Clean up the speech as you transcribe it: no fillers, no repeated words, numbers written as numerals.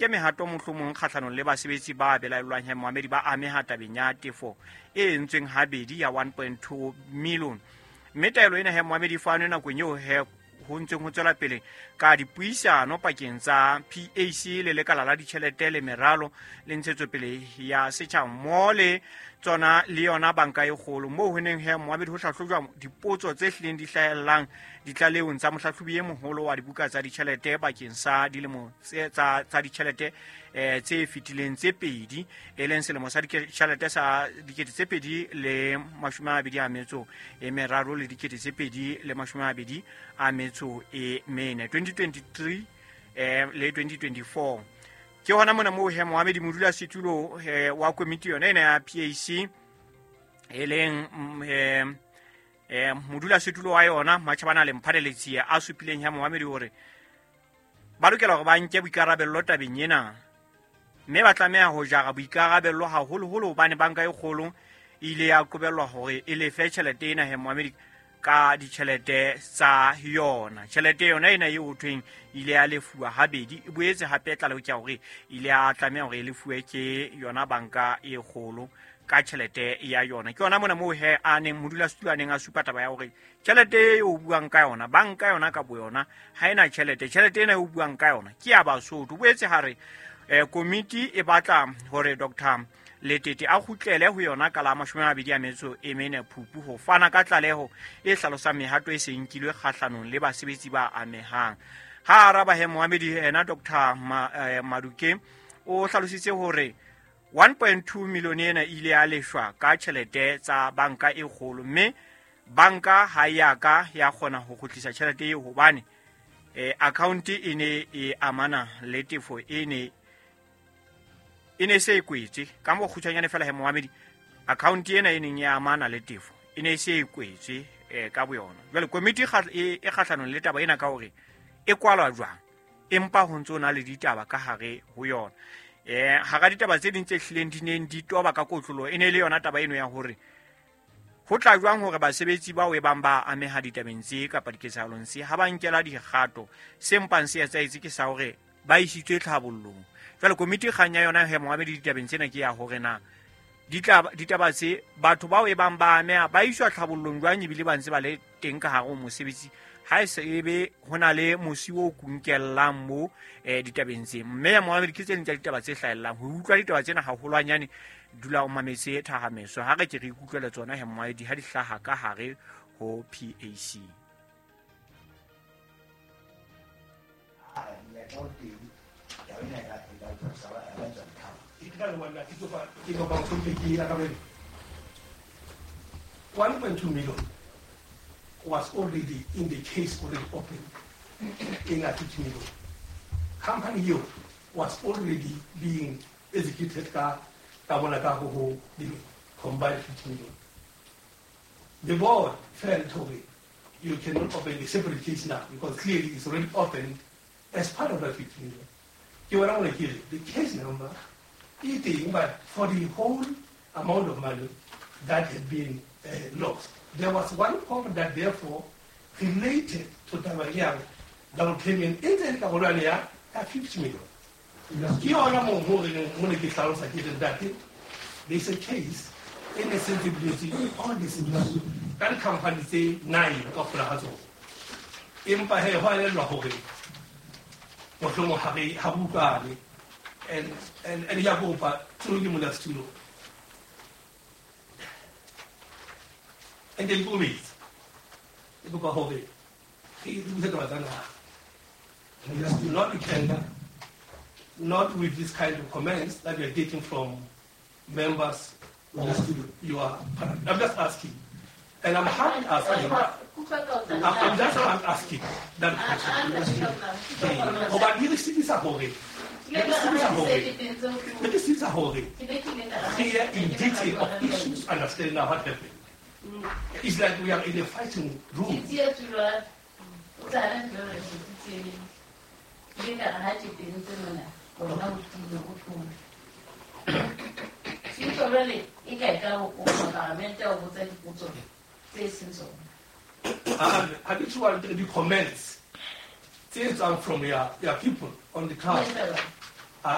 Ke mehato mohlomong kgahlanong le basebetsi ba belaellwang he moamedi ba ameha tabeng ya tefo e entsweng habedi ya 1.2 million. Mme taelo ena he moamedi fanwe nakong eo he ho ntseng ho tswela pele ka dipuisano pakeng tsa PAC le lekala la ditjhelete le meralo le ntshetsopele ya setjhaba mmoho le tsona le yona banka e kgolo, moo ho neng he moamedi ho hlahlojwa dipotso tse hlileng di hlahellang ditlalehong tsa mohlahlobi e moholo wa dibuka tsa ditjhelete bakeng sa dilemo tsa ditjhelete tse fetileng tse pedi, e leng selemo sa ditjhelete sa 2023 le 2024, 2023 le 2024. Ke hona mona moo he moamedi modulasetulo wa komiti yona ena ya PAC, e leng modulasetulo wa yona Matjhabana le Mphadeletsie a supileng he moamedi hore ba lokela hore ba nke boikarabello tabeng ena, mme ba tlameha ho jara boikarabello haholoholo hobane banka e kgolo e ile ya qobellwa hore e lefe tjhelete ena he moamedi ka ditjhelete tsa yona. Tjhelete yona ena eo ho thweng ile ya lefuwa habedi, e boetse hape tlaleho ke ya hore ile ya tlameha hore e lefuwe ke yona banka e kgolo ka tjhelete ya yona. Ke yona mona moo he a neng modulasetulo a neng a supa taba ya hore tjhelete eo o buang ka yona, banka yona ka boyona ha ena tjhelete. Tjhelete ena eo o buang ka yona ke ya Basotho. Boetse ha re komiti e batla hore Dr. Letete a kgutlele ho yona ka la 24 Phupu ho fana ka tlaleho e hlalosang mehato e seng nkilwe kgahlanong le basebetsi ba amehang. Ha araba he moamedi ena Dr. Maduke o hlalositse hore 1.2 million ena ile ya leshwa ka tjhelete tsa banka e kgolo, mme banka ha ya ka ya kgona ho kgutlisa tjhelete eo hobane account e ne e amana le tefo e ne se e kwetswe. Ka mo kgutshwanyane fela he moamedi, account ena e neng e amana le tefo e ne se e kwetswe ka boyona. Jwale komiti e kgahlanong le taba ena ka hore e kwalwa jwang, empa ho ntso na le ditaba ka hare ho yona. Hara ditaba tse ding tse hlileng di neng di toba ka kotlolo e ne le yona taba eno ya hore ho tla jwang hore basebetsi bao e bang ba ameha ditabeng tse kapa diketsahalong tse ha ba nkela dikgato, se mpang se etsahetse ke sa hore ba isitswe tlhabollong. Jwale komiti kgang ya yona he moamedi ditabeng tsena ke ya hore na ditaba tse batho bao e bang ba ameha ba iswa tlhabollong jwang ebile ba ntse ba le teng ka hare ho mosebetsi, ha e se ebe ho na le mosi o kunkellang mo ditabeng tse. Mme ya moamedi ke tse ding tsa ditaba tse hlahellang. Ho utlwa ditaba tsena haholwanyane, dula o mametse Thahameso ha re ke re ikutlwele tsona he moamedi ha di hlaha ka hare ho PAC. $1.2 million was already in the case, already open in a 50 million. Company here was already being executed ka combined 50 million. The board felt okay, you cannot open a separate case now because clearly it's already opened as part of that 50 million. The case number, but for the whole amount of money that had been lost. There was one part that therefore related to Tabayang double payment in the 50 million. There's a case in the sensibility on this that company say 9 of the house. And Yagopa through and then go meet. Not with anger, not with this kind of comments that we are getting from members of your party. I'm just asking. And I'm hard asking. I'm just asking that question. Clear in detail of issues, understand now what happened. It's like we are in a fighting room. Habitual the comments from your people on the crowd.